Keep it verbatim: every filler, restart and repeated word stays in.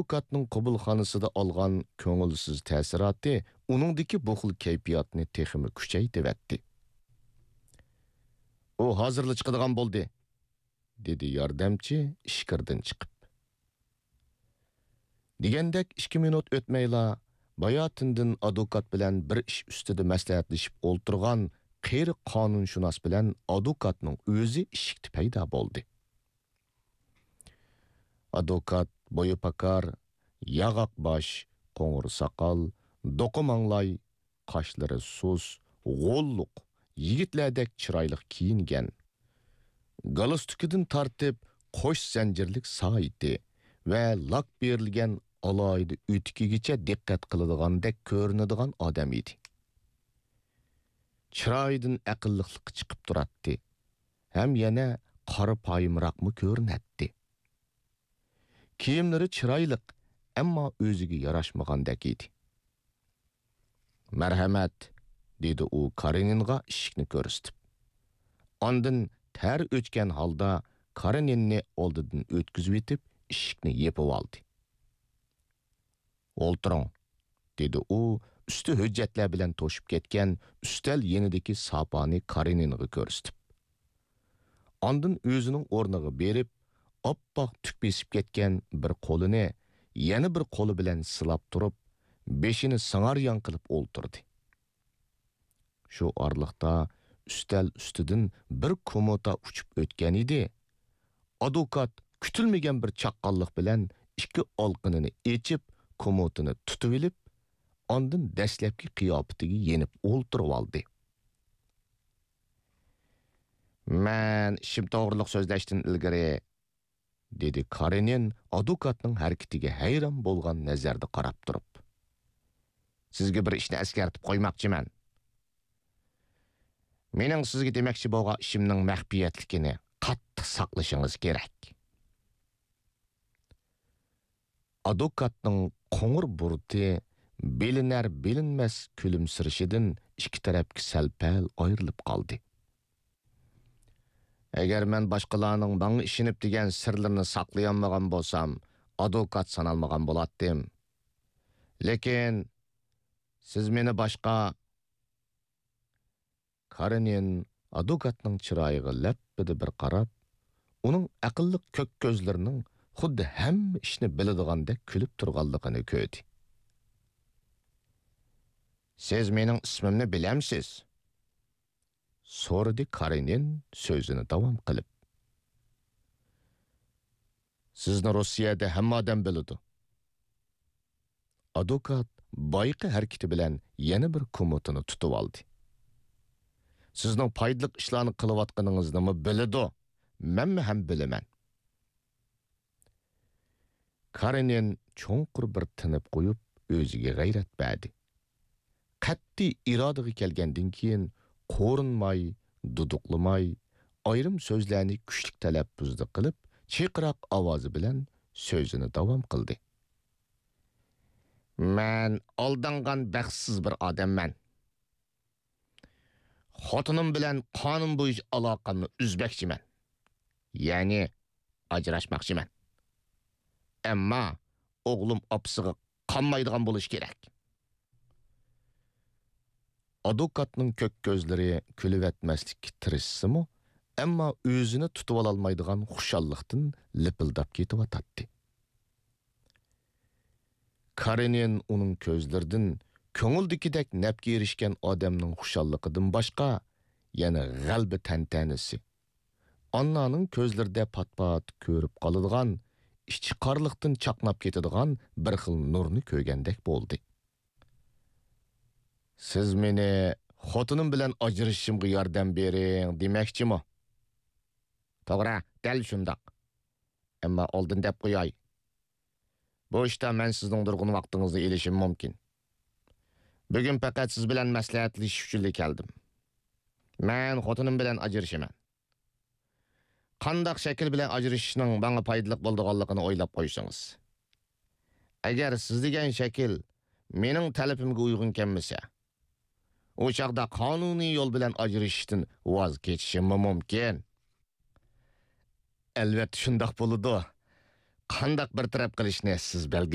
ئادۋوكاتنىڭ قوبۇلخانىسىدا ئالغان كۆڭۈلسىز تەسىراتى ئۇنىڭدىكى بۇ خىل كەيپىياتنى تېخىمۇ كۈچەيتىۋەتتى. «ئۇ ھازىرلا چىقىدىغان بولدى»، دېدى ياردەمچى ئىچكىرىدىن چىقىپ. دېگەندەك ئىككى مىنۇت ئۆتمەيلا، باياتىندىن ئادۋوكات بىلەن بىر ئىش ئۈستىدە مەسلىھەتلىشىپ ئولتۇرغان قېرى قانۇنشۇناس بىلەن ئادۋوكاتنىڭ ئۆزى ئىشىكتە پەيدا بولدى. ئادۋوكات بويى پاكار، ياغاق باش، قوڭۇر ساقال، دوقا ماڭلاي، قاشلىرى سۇس، غوللۇق، يىگىتلەردەك چىرايلىق كىيىنگەن. گالستۇكىدىن تارتىپ قوش زەنجىرلىك سائىتى ۋە لاك بېرىلگەن ئالاھىدە ئۆتۈكىگىچە دىققەت قىلىدىغاندەك كۆرۈنىدىغان ئادەم ئىدى. چىرايىدىن ئەقىللىقلىق چىقىپ تۇراتتى ھەم يەنە قارا پايىمراقمۇ كۆرۈنەتتى. كىيىملىرى چىرايلىق، ئەمما ئۆزىگە ياراشمىغاندەك ئىدى. «مەرھەمەت»، دېدى ئۇ كارېنىنغا ئىشىكنى كۆرسىتىپ. ئاندىن تەر ئۆچكەن ھالدا كارېنىننى ئالدىدىن ئۆتكۈزۈۋېتىپ، ئىشىكنى يېپىۋالدى. «ئولتۇرۇڭ»، دېدى ئۇ ئۈستى ھۆججەتلەر بىلەن توشۇپ كەتكەن ئۈستەل يېنىدىكى ساپانى كارېنىنغا كۆرسىتىپ. ئاندىن ئۆزىنىڭ ئورنىغا بېرىپ، ئاپئاق تۈك بېسىپ كەتكەن بىر قولىنى يەنە بىر قولى بىلەن سىلاپ تۇرۇپ، بېشىنى سىڭاريان قىلىپ ئولتۇردى. شۇ ئارىلىقتا ئۈستەل ئۈستىدىن بىر كوموتا ئۇچۇپ ئۆتكەن ئىدى. ئادۋوكات كۈتۈلمىگەن بىر چاققانلىق بىلەن ئىككى ئالقىنىنى ئېچىپ، كوموتىنى تۇتۇۋېلىپ، ئاندىن دەسلەپكى قىياپىتىگە يېنىپ ئولتۇرۇۋالدى. «مەن ئىشىم توغرىلىق سۆزلەشتىن ئىلگىرى»، دېدى كارېنىن ئادۋوكاتنىڭ ھەرىكىتىگە ھەيران بولغان نەزەردە قاراپ تۇرۇپ. «سىزگە بىر ئىشنى ئەسكەرتىپ قويماقچىمەن. مېنىڭ سىزگە دېمەكچى بولغان ئىشىمنىڭ مەخپىيەتلىكىنى قاتتىق ساقلىشىڭىز كېرەك.» ئادۋوكاتنىڭ قوڭۇر بۇرۇتى بىلىنەر-بىلىنمەس كۈلۈمسىرىشىدىن ئىككى تەرەپكە سەل-پەل ئايرىلىپ قالدى. «ئەگەر مەن باشقىلارنىڭ ماڭا ئىشىنىپ دېگەن سىرلىرىنى ساقلىيالمىغان بولسام، ئادۋوكات سانالمىغان بولاتتىم. لېكىن سىز مېنى باشقا...» كارېنىن ئادۋوكاتنىڭ چىرايىغا لەپپىدە بىر قاراپ، ئۇنىڭ ئەقىللىق كۆك كۆزلىرىنىڭ خۇددى ھەممە ئىشنى بىلىدىغاندەك كۈلۈپ تۇرغانلىقىنى كۆردى. «سىز مېنىڭ ئىسمىمنى بىلەمسىز؟» سورىدى كارېنىن سۆزىنى داۋام قىلىپ. «سىزنى روسىيەدە ھەممە ئادەم بىلىدۇ.» ئادۋوكات بايىقى ھەرىكىتى بىلەن يەنە بىر كوموتىنى تۇتۇۋالدى. «سىزنىڭ پايدىلىق ئىشلارنى قىلىۋاتقىنىڭىزنىمۇ بىلىدۇ، مەنمۇ ھەم بىلىمەن.» كارېنىن چوڭقۇر بىر تىنىپ قويۇپ، ئۆزىگە غەيرەت بەردى. قەتئىي ئىرادىگە كەلگەندىن كېيىن، قورۇنماي، دۇدۇقلىماي، ئايرىم سۆزلەرنى كۈچلۈك تەلەپپۇزدا قىلىپ، چىرقىراق ئاۋازى بىلەن سۆزىنى داۋام قىلدى. «مەن ئالدانغان بەختسىز بىر ئادەممەن. خوتۇنۇم بىلەن قانۇن بويىچە ئالاقەمنى ئۈزمەكچىمەن. يەنى ئاجراشماقچىمەن. ئەمما ئوغلۇم ئاپىسىغا قانمايدىغان بولۇشى كېرەك.» ئادۋوكاتنىڭ كۆك كۆزلىرى كۈلۈۋەتمەسلىككە تىرىشسىمۇ، ئەمما ئۆزىنى تۇتۇۋالالمايدىغان خۇشاللىقتىن لىپىلداپ كېتىۋاتاتتى. كارېنىن ئۇنىڭ كۆزلىرىدىن كۆڭۈلدىكىدەك نەپكە ئېرىشكەن ئادەمنىڭ خۇشاللىقىدىن باشقا يەنە غەلىبە تەنتەنىسى، ئاننانىڭ كۆزلىرىدە پات-پات كۆرۈپ قالىدىغان، ئىچى قارىلىقتىن چاقناپ كېتىدىغان بىر خىل نۇرنى كۆرگەندەك بولدى. «سىز مېنى خوتۇنۇم بىلەن ئاجرىشىشىمغا ياردەم بېرىڭ دېمەكچىمۇ؟» «توغرا، دەل شۇنداق. ئەمما ئالدىن دەپ قوياي، بۇ ئىشتا مەن سىزنىڭ نۇرغۇن ۋاقتىڭىزنى ئېلىشىم مۇمكىن. بۈگۈن پەقەت سىز بىلەن مەسلىھەتلىشىش ئۈچۈنلا كەلدىم. مەن خوتۇنۇم بىلەن ئاجرىشىمەن. قانداق شەكىل بىلەن ئاجرىشىشنىڭ ماڭا پايدىلىق بولىدىغانلىقىنى ئويلاپ قويسىڭىز. ئەگەر سىز دېگەن شەكىل مېنىڭ تەلىپىمگە ئۇيغۇن كەلمىسە، ئۇ چاغدا قانۇنىي يول بىلەن ئاجرىشىشتىن ۋاز كېچىشىممۇ مۇمكىن.» «ئەلۋەتتە شۇنداق بولىدۇ. قانداق بىر تەرەپ قىلىشنى سىز بەلگىلەيسىز.